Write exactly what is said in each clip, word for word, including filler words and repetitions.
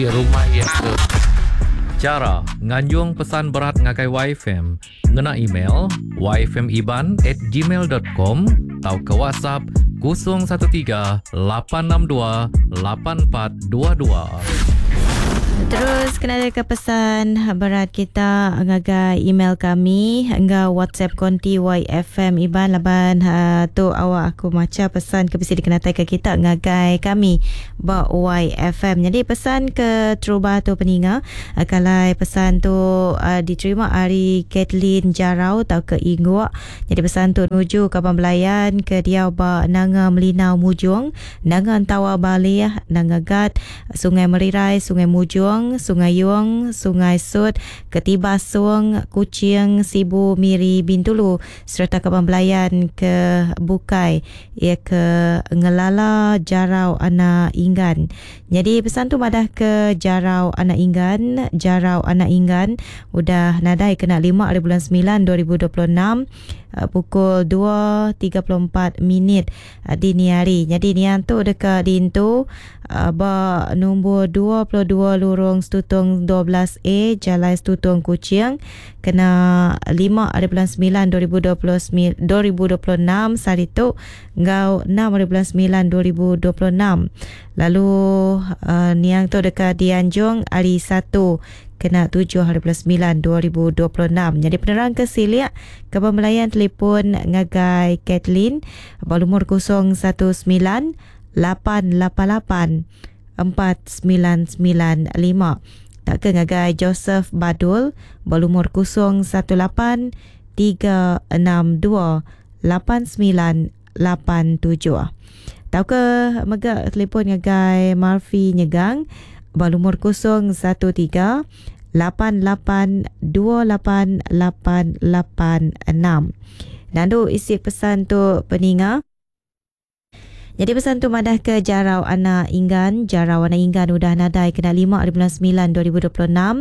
Rumah iya ke. Chara nganjung pesan berat ngagai Y F M ngena email yfmiban at gmail dot com tauka WhatsApp kosong satu tiga lapan enam dua lapan empat dua dua. Terus kena ke pesan berat kita ngagai email kami enggau WhatsApp konti Y F M Iban laban uh, tu awak aku maca pesan ke bisi dikenatai ke kita ngagai kami ba Y F M. Jadi pesan ke terubah tu peninga uh, kalau pesan tu uh, diterima hari Kathleen Jarau atau ke Ingguk. Jadi pesan tu nuju kaban belayan ke dia ba Nanga Melinau Mujung, Nanga Entawa Balih, Nanga Gat, Sungai Merirai, Sungai Mujung, Sungai Yung, Sungai Sut, Ketibasung, Kuching, Sibu, Miri, Bintulu serta kaban belayan ke Bukai ia ke Ngelala Jarau Anak Inggan. Jadi pesan tu madah ke Jarau Anak Inggan, Jarau Anak Inggan udah nadai kena lima hari bulan sembilan dua ribu dua puluh enam uh, pukul dua tiga puluh empat minit uh, dini hari. Jadi nian tu dekat dintu uh, ba nombor dua puluh dua Lurung Stutong dua belas A, Jalan Stutong, Kuching kena lima hari bulan sembilan dua ribu dua puluh sembilan dua ribu dua puluh enam hari tu ngau enam hari bulan sembilan dua ribu dua puluh enam. Lalu uh, niang tu dekat dianjung hari satu kena tujuh hari bulan sembilan dua ribu dua puluh enam. Jadi penerang ke siliak ke pembelayan telefon ngagai Kathleen berumur kosong satu sembilan lapan lapan lapan empat sembilan sembilan lima. Tak ke ngagai Joseph Badul berumur kosong satu lapan tiga enam dua lapan sembilan lapan tujuh. Tau ke mega telefon ngagai Murphy Nyegang berumur kosong satu tiga lapan lapan dua lapan lapan lapan enam. Nandu isi pesan tu peninga. Jadi pesan tu madah ke Jarau Anak Inggan. Jarau Anak Inggan udah nadai kena lima hari bulan sembilan dua ribu dua puluh enam.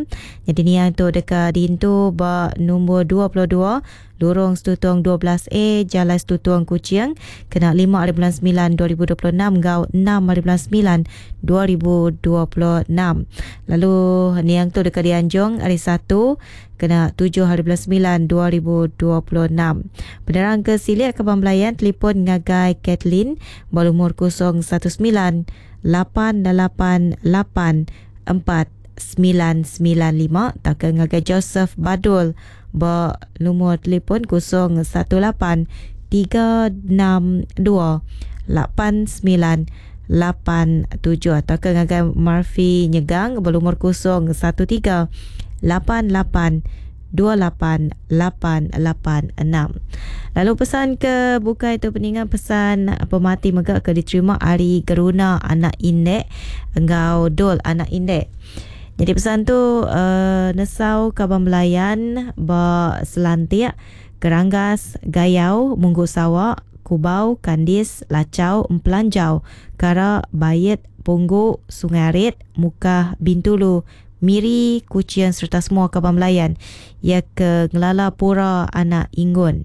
Jadi ni yang tu dekat dintu ba nombor dua puluh dua Lorong Stutong dua belas A, Jalan Stutong, Kuching kena lima hari bulan sembilan dua ribu dua puluh enam gau enam hari bulan sembilan dua ribu dua puluh enam. Lalu niang tu dekat dianjung hari satu kena tujuh hari bulan sembilan dua ribu dua puluh enam. Penerang ke Siliak ke Belayan telefon ngagai Kathleen berumur kosong satu sembilan lapan lapan lapan empat sembilan sembilan lima tak ke ngagai Joseph Badul bernomor telefon kosong satu lapan tiga enam dua lapan sembilan lapan tujuh atau ke ngagai Murphy Nyegang berumur kosong satu tiga lapan lapan dua lapan lapan lapan enam. Lalu pesan ke bukai tu peningan, pesan pemati mega ke diterima hari Geruna Anak Indek engau Dol Anak Indek. Jadi pesan tu uh, nesau kaban belayan ba Selantik, Keranggas, Gayau, Munggu Sawak, Kubau, Kandis, Lacau, Empelanjau, Kara, Bayet, Punggu, Sungai Arit, Mukah, Bintulu, Miri, Kuching serta semua kaban belayan ia ke Ngelala Pura Anak Inggun.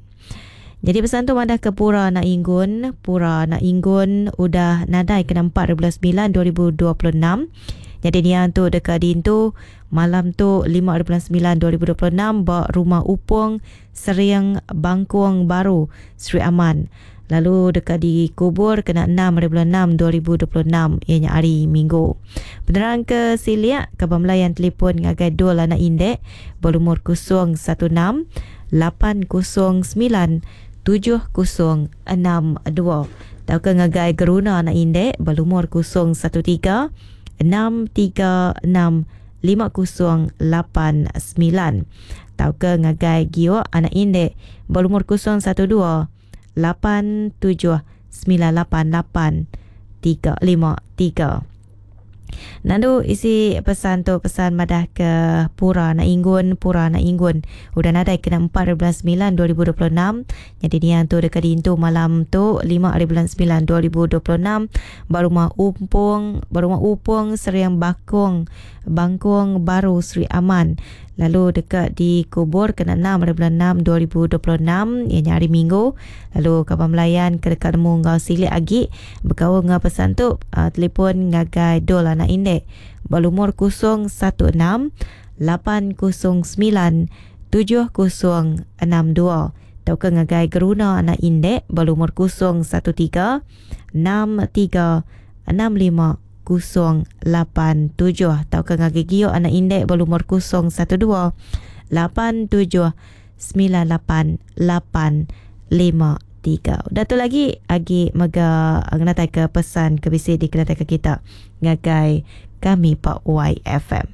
Jadi pesan tu madah ke Pura Anak Inggun, Pura Anak Inggun udah nadai kena empat bulan sembilan dua ribu dua puluh enam. Jadi nian tu dekat dintu malam tu lima bulan sembilan dua ribu dua puluh enam ba Rumah Upung Seriang Bangkuang Baru, Sri Aman. Lalu dekat dikubur kena enam bulan enam dua ribu dua puluh enam ianya hari Minggu. Penerang ke Siliak ke Belayan telefon ngagai Dul Anak Indek berumur kosong satu enam lapan kosong sembilan tujuh kosong enam dua. Tau ke ngagai Geruna Anak Indek berumur kosong satu tiga enam tiga enam lima kosong lapan sembilan. Tau ke ngagai Gio Anak Indek berumur kosong satu dua lapan tujuh sembilan lapan lapan tiga lima tiga. Nandu isi pesan tu, pesan madah ke Pura Anak Inggun, Pura Anak Inggun udah nadai kena empat bulan sembilan dua ribu dua puluh enam. Jadi niang tu dekat dintu malam tu lima hari bulan sembilan dua ribu dua puluh enam Barumah Umpung, Barumah Upung Seriang Bakung, Bangkung Baru, Sri Aman. Lalu dekat dikubur kena enam hari bulan enam dua ribu dua puluh enam, ianya hari Minggu. Lalu kaban belayan ke dekat nemu ngau silik agi berkaul ngau pesan tu, uh, telefon ngagai Dol anak Indek berlumur kosong satu enam lapan kosong sembilan tujuh kosong enam dua atau ke ngagai Geruna anak Indek berlumur kosong satu tiga enam tiga enam lima kosong lapan tujuh atau ke ngagai Gio anak Indek berlumur kosong satu dua lapan tujuh sembilan lapan lapan lima tiga. Udah tu lagi agi mega ngenatai ke pesan ke bisi dikenatai ke kita ngagai kami Pak Y F M.